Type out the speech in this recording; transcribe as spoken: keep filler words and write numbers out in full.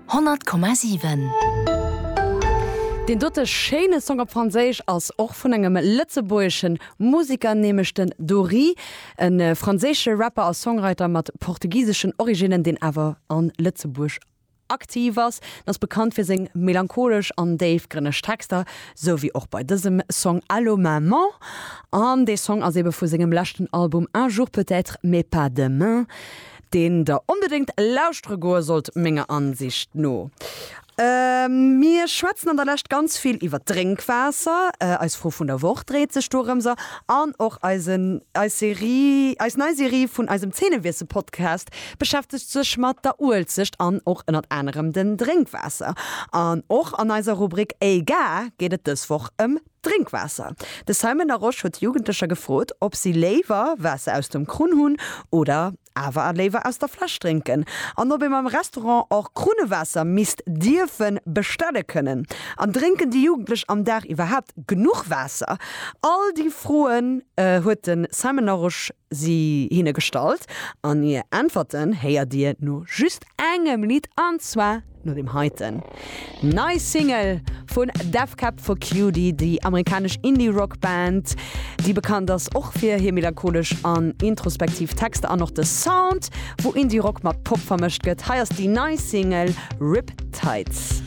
Honnert Komma siwen. Deen dote schéine Song op Franséisch ass och vun engem lëtzebuergesche Museker, nämlech den Dory, e franséische Rapper a Songwriter mat portugiseschen Originnen, deen awer a Lëtzebuerg aktiv ass. En ass bekannt fir seng melancholesch an déifgrënneg Texter, sou wéi och bei dësem Song Allo Maman. An dee Song ass ebe vu sengem leschten Album Un jour peut-être mais pas demain, deen der onbedéngt lauschtere goe sollt, menger Ansicht no. Mir schwätzen an der Lescht ganz vill iwwer Drénkwaasser, eis Fro vun der Woch dréit sech dorëmser an och eisen, eis Serie, eis nei Serie vun eisem Zeenewiessel-Podcast beschäftegt sech mat der Uelzecht an och ënnert anerem den Drénkwaasser. An och an eiser Rubrik Ey Ga geet et dës Woch ëm Drénkwaasser. De Simon Larosche huet Jugendlecher gefrot, ob si léiwer Waasser aus dem Krunn hunn oder awer léiwer aus der Fläsch drénken. An ob een am Restaurant och Krunnewaasser misst dierfe bestelle kënnen. An drénken déi Jugendlech am Dag iwwerhaapt genuch Waasser? All déi Froen huet de Simon Larosche si hinne gestallt an hir Äntwerten héiert dir no just engem Lidd an zwar no deem heiten. Nei Single vun Death Cab for Cutie, déi amerikanesch Indie-Rock Band, déi bekannt ass och fir hir melancholesch an introspektiv Texter an och de Sound, wou Indie-Rock mat Pop vermëscht gëtt. Hei ass déi nei Single Riptides.